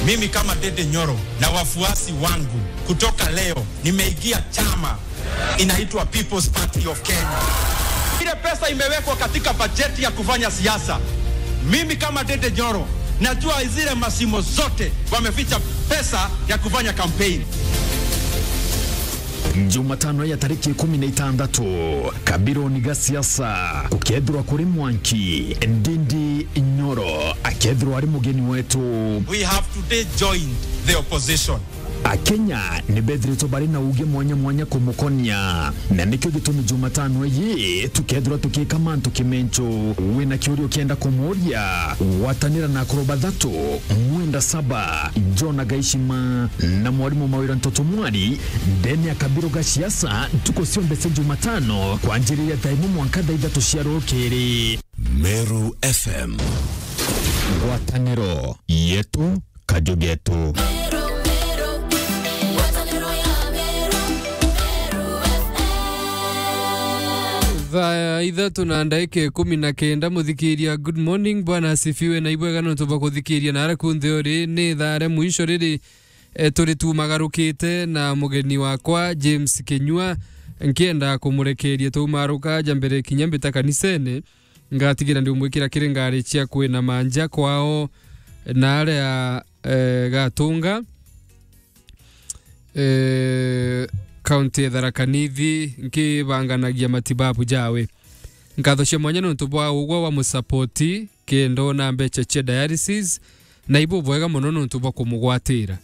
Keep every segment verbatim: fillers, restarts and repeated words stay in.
Mimi kama Ndindi Nyoro na wafuasi wangu, kutoka leo nimeingia chama inaitwa People's Party of Kenya. Ile pesa imewekwa katika bajeti ya kufanya siasa, mimi kama Ndindi Nyoro najua zile mashimo zote wameficha pesa ya kufanya campaign. Jumatano ya tariki ikumi na itandatu, kabironi ga siasa gukethirwa kuri mwanki, Ndindi Nyoro akethirwa ari mugeni wetu. We have today joined the opposition. Akenya ni bethiritwe bari na uge mwanya mwanya kumukonia, na nikio gitumi Jumatano iyi tukethirwa tukika mantu kimencho. Wina kiuria ukienda kumuuria, gwatanira na akuru bathatu, Mwenda Saba, Jona Gaishima na mwarimu Mawira Ntoto Mwari, ndene ya kabiro ga siasa, ntuku cionthe cia Jumatano, kwanjiriria thaa imwe mwanka thaa ithatu cia rukiri. Meru F M. Ngwataniro yetu, kaju getu. Thaa ithatu na ndagika ikumi na kenda, muthikiria, good morning, Bwana asifiwe, na ibwega nontu bwa kuthikiria na aria kunthe uri, ni thaa ria mwisho riri, e, turi tumagarukite na mugeni wakwa, James Kinyua, nkienda kumurekeria tumaruka ja mbere kinya mbita kanisene. Ngatigira ndiumwikira kiri ngari cia kwina manja kwao na aria, eh, Gatunga, eh, kaunti ya Tharaka Nithi, nkibanganagia matibabu jawe. Nkatho cia mwanya nontu bwa ugwa wa musapoti, kenda ona mbecha cia dialysis, na ibu bwega mono nontu bwa kumugwatira.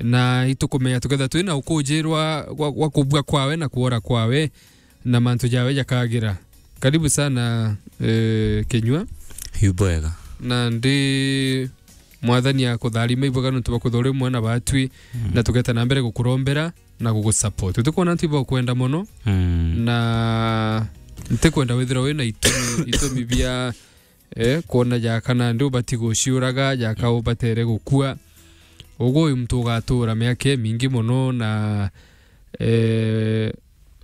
Na itukumenya tuketha twina ukujirwa gwa, gwa kubua kwawe na kuora kwawe, na mantu jawe jakagira. Karibu sana, eh, Kinyua. Yu bwega. Na ndi Mwathani akutharima ibwega nontu bwa kwithirwa uri umwe na batwi, mm, na tugeta na mbere gukurombera na gugusupport. Tukwona antu ibakwenda mono, mm, na ntikwenda withirwa wina itumi, itumi bia eh, kwona jaka nandi ubati guciuraga, jaka ubatere gukua. Ugu uyu muntu ugatura miaka imingi mono na, eh,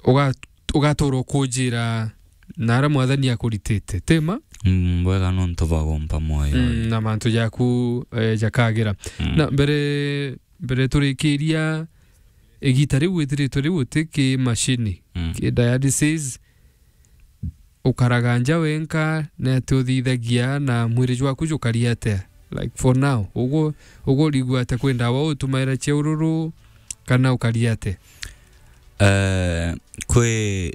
uga-, ugatura ukujira na aria Mwathani akuritite. Tima? Mm, bwega nontu bwa gumpa mwoyo. Mm, na mantu jaku, eh, jakagira. Mm. Na mbere, mbere turikiria, igita riu withiritwe riu uti ki mashini, mm, ki dialysis, ukaraga nja wenka, na ati uthithagia na mwiri jwaku jukari atia? Like, for now, ugu, ugu urigua atia, kwi ndawa utumaira cia ururu, kana ukari atia? Eh, kwi,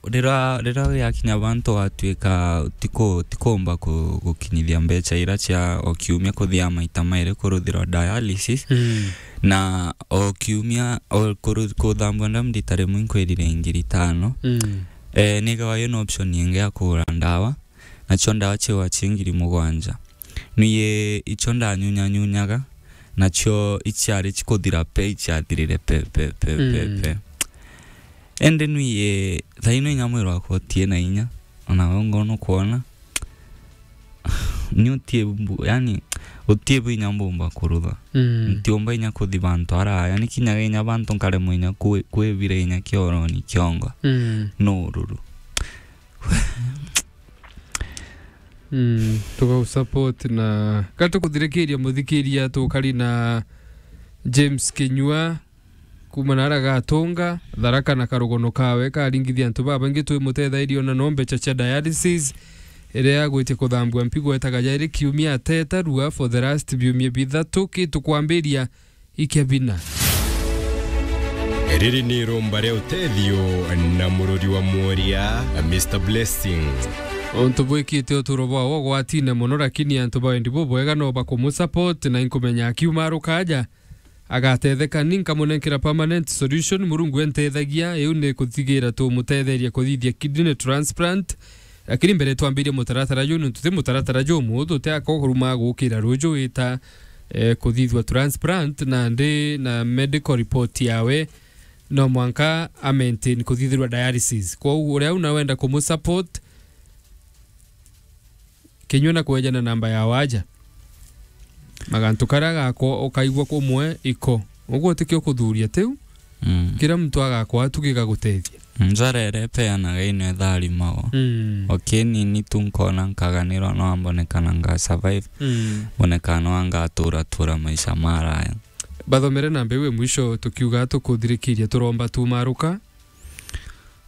rira, rira wiakinya bantu watuika tiku-, tikumba ku-, gukinyithia mbecha ira cia o kiumia kuthia maita mairi kuruthirwa dialysis, mm, na o kiumia, o kuru-, kuthambua ndamu rita rimwe inkwirire ngiri itano. Mm. Eh, nigawa yina option ingi ya kugura ndawa, nacio ndawa ciwa ci ngiri mugwanja. Nwie icio ndanyunyanyunyaga, nacio iciari cikuthira pe, iciathirire pe, pe, pe, pe, mm, pe. Indi nwie, thaino inya mwiri wakwa utie na inya, ona we ngona ukwona. Ni utie bu-, yani, utie bu inya mbumba kurutha. Mm. Ntiumba inya kuthi bantu araya, ni kinyaga inya bantu nkaremwa inya kwi-, kwibira inya kioroni kiongo. Mm. No ururu. Mm, tugau support na gatukuthirikiria muthikiria tukari na James Kinyua. Kuma na aria Gatunga, Tharaka na karugono kawe karingithia antu babaingi twi mutethairia ona no mbecha cia dialysis, iria agwitia kuthambua mpigo etaga jairi kiumia atetarua for the last biumia bithatu. Ki tukwambiria ikia bina. Riri ni irumba ria utethio na mururi wa mworia, Mister Blessing. Untu bwikite uturo bwawe ugwatine mono, lakini antu ba wendi bubwega no bakumusupport, na inkumenya akiuma arukaja agatetheka, ni nkamunenkera permanent solution. Murungu entethagia, iu ni kuthigira tumutetheria kuthithia kidney transplant. Lakini mbere twambirie mutaratara juu, nontu ti mutaratara jumuhuthu, ti akoruma gukira ruju ita, eh, kuthithua transplant, na ndi na medical report yawe, no mwanka a maintain kuthithirwa dialysis. Kwou uria una wenda kumusupport, Kinyua na kweja na namba ya waja. Magantu karia gakwa ukaigua kumwe iko. Uguo tikio kuthuria tiu. Mm. Kira muntu agakwa tu gigagutethia. Njara iria ipeanaga ino itharimagwa. Mm. Okay, nini tu nkona nkaganirwa no ambonekana nga survive. Mm. Mbonekana no ngatura tura maisha maraya. Bathomere namba iu e mwisho tukiuga tukuthirikiria turomba tumaruka.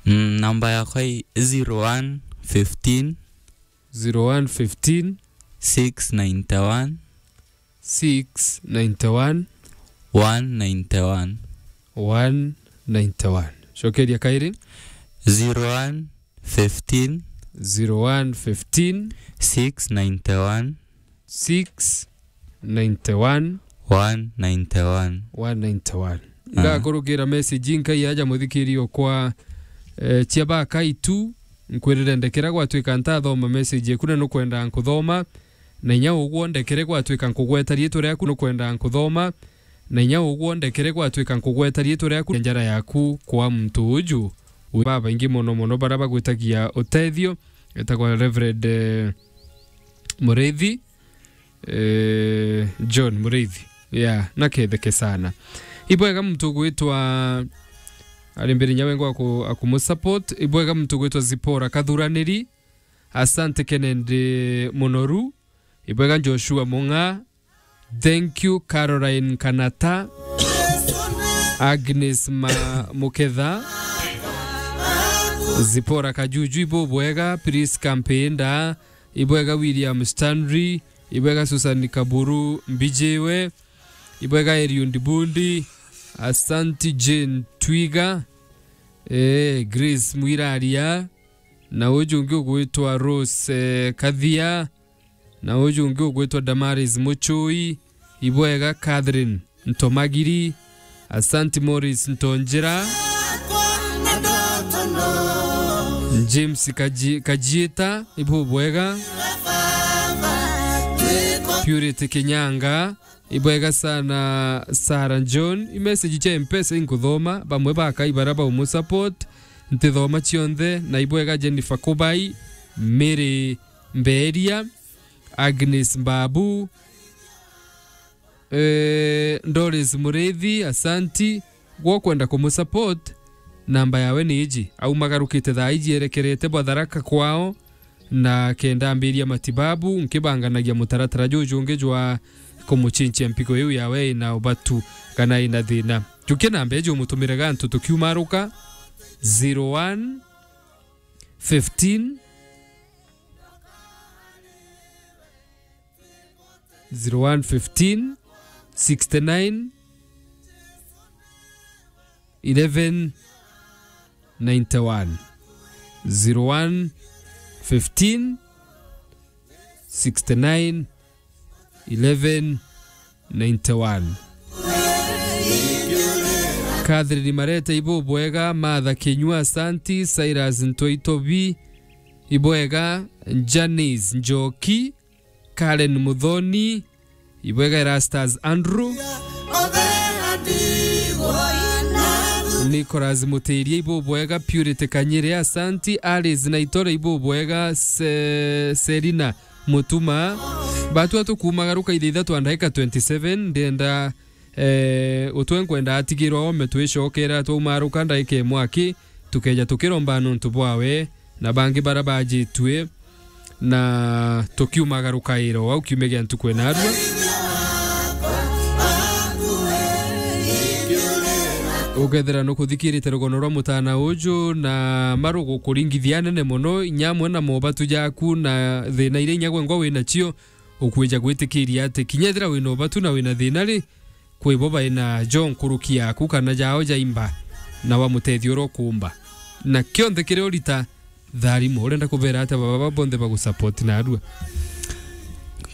Mm, namba yakwa i zero one fifteen. Zero one fifteen. Six ninety one. Six ninety one. One ninety one. One ninety one. Cokeria kairi. Zero one fifteen. Zero one fifteen. Six ninety one. Six ninety one. One ninety one. One ninety one. Ah. Ngakurukira message nkai aja muthikiri okwa, eh, cia bakai tu, nkwirire ndekera gwatwika ntathoma message eku na nukwenda nkuthoma, na inya ugwo ndekere gwatwika nkugweta riitwa riaku nukwenda nkuthoma, na inya ugwo ndekere gwatwika nkugweta riitwa riaku njara yaku kwa muntu uju. Wi babaingi mono mono bara bagwitagia utethio, etagwa Reverend, eh, Muriithi, eh, John Muriithi. Yeah, naketheke sana. Ibwega muntu gwitwa, ari mbere nyawe ngo aku-, akumusupport. Ibwega muntu gwitwa Zipora Kathuraniri. Asante Kennedy Munoru. Ibwega Joshua Mung'a. Thank you Caroline Kanata. Agnes Ma-, Muketha. Zipora Kajuju, ibubwega. Prisca Mpinda. Ibwega William Stanley, ibwega Susan Kaburu Mbijiwe, ibwega Eliud Bundi, asanti Jane Twiga, eh, Grace Mwiraria, na uju ungi ugwitwa Rose, eh, Kathia, na uju ungi ugwitwa Damaris Muchui, ibwega Catherine Ntomagiri, asanti Morris Ntonjera, James Kaji-, Kajiita, ibubwega, Purity Kinyanga, ibwega sana Sarah John. I message cia Mpesa inkuthoma, bamwe bakai bara baumusupport, ntithoma cionthe, na ibwega Jennifer Kubai, Mary Mberia, Agnes Mbabu, Eh, Doris Muriithi, asanti. Gwo kwenda kumusupport, namba yawe ni iji. Aumagarukite thaa iji erekerete bwa Tharaka kwao, na kenda ambiria matibabu, nkibanganagia mutaratara juju ungi jwa kumuchinchia mpigo iu yawe ina ubatu kana ina thina. Jukia namba iji umutumire gantu tukiumaruka, zero one fifteen, zero one fifteen, sixty nine, eleven ninety one. Zero one fifteen, sixty nine, eleven ninety one. Catherine Marete, ibubwega. Martha Kinyua, asanti. Cyrus Ntoitobi, ibwega. Janice Njoki, Karen Muthoni, ibwega. Erastus Andrew, Nicholas Mutiria, ibubwega. Purity Kanyire, asanti. Alice Naitore, ibubwega. Se-, Selina Mutuma. Batua tukumagaruka ithaa ithatu na ndagika twenty seven, ndenda Eh, utwe nkwenda atigirwa ome twicokera twaumaruka ndaika imwe aki, tukeja tukiromba nontu bwawe na bangi bara bajitue, na tukiumagaruka iro au kiumia gia ntuku inarua. Ukethira nukuthikirite rugono rwa mutana uju na marugu kuringithia nene mono, inya amwe na mobatu jaku na thina iria inya gwengwa wina cio, ukwija gwitikiria ati kinya ethira wina ubatu na wina thina ri, kwi bo baina jo nkuruki yaku kana jao jaimba, na wamutethia uria ukuumba. Na kionthe kiria urita, tharimo. Urenda kubera atia baba baba bonthe bagusupport narua?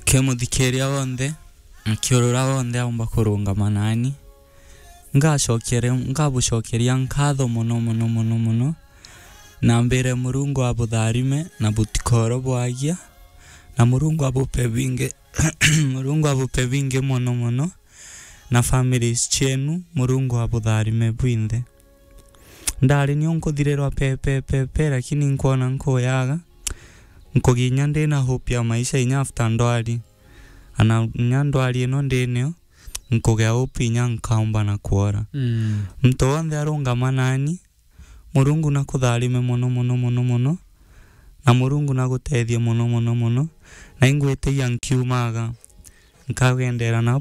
Ke muthikiria wonthe, nkiurura wonthe aumba kurungama nani, ngacokere-, ngabucokeria nkatho mono, mono, mono, mono. Na mbire Murungu abutharime na butikoro bwagia, na Murungu abupe bingi, Murungu abupe bingi mono, mono. Na families cienu, Murungu abutharime bwinthe. Ndari nio nkuthirirwa pe, pe, pe, pe, lakini nkwona nkuyaga. Nkuginya ndina hope ya maisha inya after ndwari. Ana inya ndwari ino ndinio, nkugea hope inya nkaumba na kwora. Mm. Muntu wonthe arungama nani, Murungu nakutharime mono, mono, mono, mono, na Murungu nagutethie mono, mono, mono, na ingwitiia nkiumaga, nkagendera nabo.